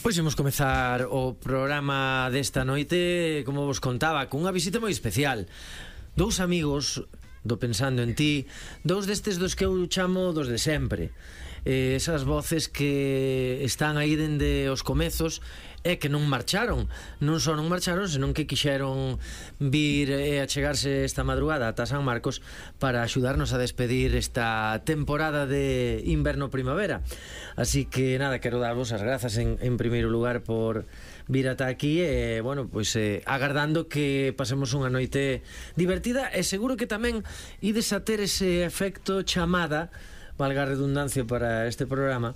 Pois imos comezar o programa desta noite, como vos contaba, cunha visita moi especial. Dous amigos do Pensando en Ti, dous destes dos que eu chamo dos de sempre. Esas voces que están aí dende os comezos e que non marcharon. Non só non marcharon, senón que quixeron vir e achegarse esta madrugada ata San Marcos para axudarnos a despedir esta temporada de inverno-primavera. Así que nada, quero darvos as grazas en primeiro lugar por vir ata aquí e, bueno, pois agardando que pasemos unha noite divertida e seguro que tamén ides a ter ese efecto chamada, valga a redundancia para este programa,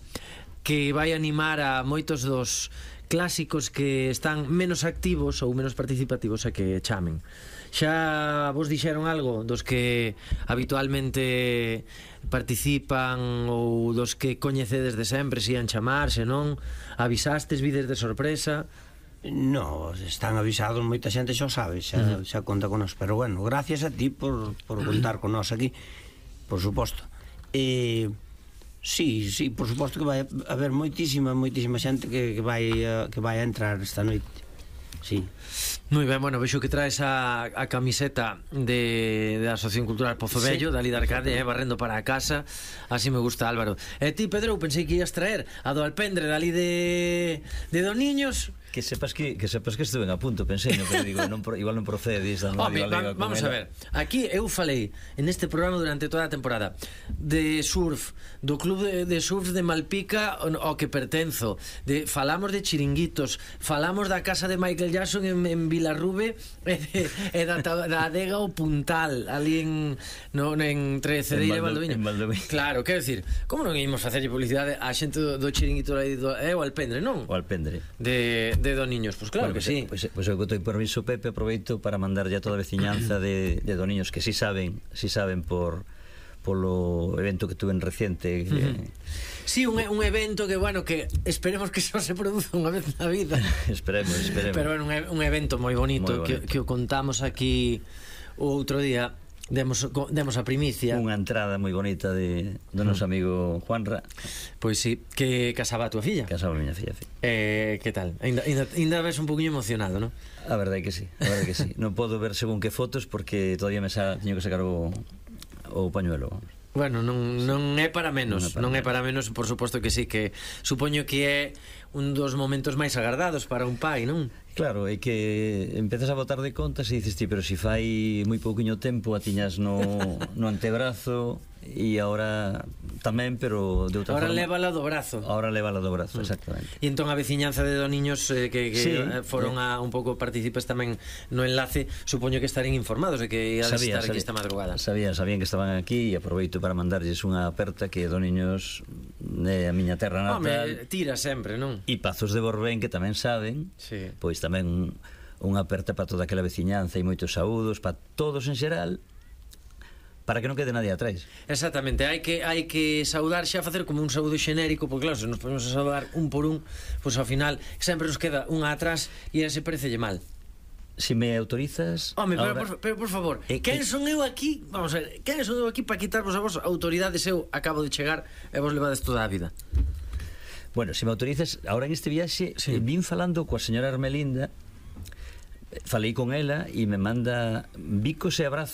que vai animar a moitos dos clásicos que están menos activos ou menos participativos a que chamen. Xa vos dixeron algo dos que habitualmente participan ou dos que coñecedes de sempre, se ian chamar, se non avisastes, vides de sorpresa? No, están avisados, moita xente xa o sabe, xa conta con nós, pero bueno, gracias a ti por contar con nós aquí, por suposto. Sí, por suposto que vai haber moitísima xente que vai a entrar esta noite. Sí. Moi ben, bueno, vexo que traes a camiseta da Asociación Cultural Pozo Vello, sí, da Lida Arcade, barrendo para a casa. Así me gusta, Álvaro. E ti, Pedro, pensei que ias traer a do Alpendre dali de Doniños. Que sepas que estuve a punto, pensei, no, pero digo, igual non procede. Vamos a ver, aquí eu falei en este programa durante toda a temporada de surf, do club de surf de Malpica ao que pertenzo, falamos de chiringuitos, falamos da casa de Michael Jackson en Vilarrube e da adega o Puntal ali entre Cedeira e Valdoviño. Claro, quero dicir, como non ímos facerlle publicidade á xente do chiringuito o Alpendre, non? O Alpendre de Doniños, pois claro, bueno, que sí. Pois eu que estou permiso, Pepe, aproveito para mandarlle a toda a veciñanza de Doniños que si saben polo evento que tuve en reciente. Sí, un evento que, bueno, que esperemos que só se produza unha vez na vida. Esperemos. Pero bueno, un evento moi bonito, que o contamos aquí o outro día. Demos a primicia. Unha entrada moi bonita do noso amigo Juanra. Pois sí, que casaba a túa filla. Casaba a miña filla, sí. Que tal? Ainda ves un poquinho emocionado, non? A verdade que sí. Non podo ver según que fotos porque todavía teño que sacar o pañuelo. Bueno, non é para menos. Non é para menos, por suposto que sí, que supoño que é un dos momentos máis agardados para un pai, non? Claro, é que empezas a botar de contas e dices ti, pero si fai moi pouquiño tempo a tiñas no antebrazo e agora tamén, pero de outra forma. Ahora lévala do brazo. Exactamente. E entón a veciñanza de Doniños que sí, foron un pouco partícipes tamén no enlace, supoño que estarían informados de que ia estar aquí esta madrugada. Sabían que estaban aquí e aproveito para mandarlles unha aperta que Doniños é a miña terra natal. Tira sempre, non? E Pazos de Borbén, que tamén saben, sí. Pois tamén unha aperta para toda aquela veciñanza e moitos saúdos para todos en xeral, para que non quede nadie atrás. Exactamente, hai que saudar xa, facer como un saúdo xenérico, porque claro, se nos podemos saudar un por un, pois ao final sempre nos queda unha atrás e ese parecelle mal. Si me autorizas... Home, pero por favor, quen son eu aquí? Vamos a ver, quen son eu aquí para quitarvos a vos autoridades? Eu acabo de chegar e vos levades toda a vida. Bueno, se me autorizas, ahora en este viaxe vin falando coa señora Armelinda, falei con ela e me manda bicos e abrazos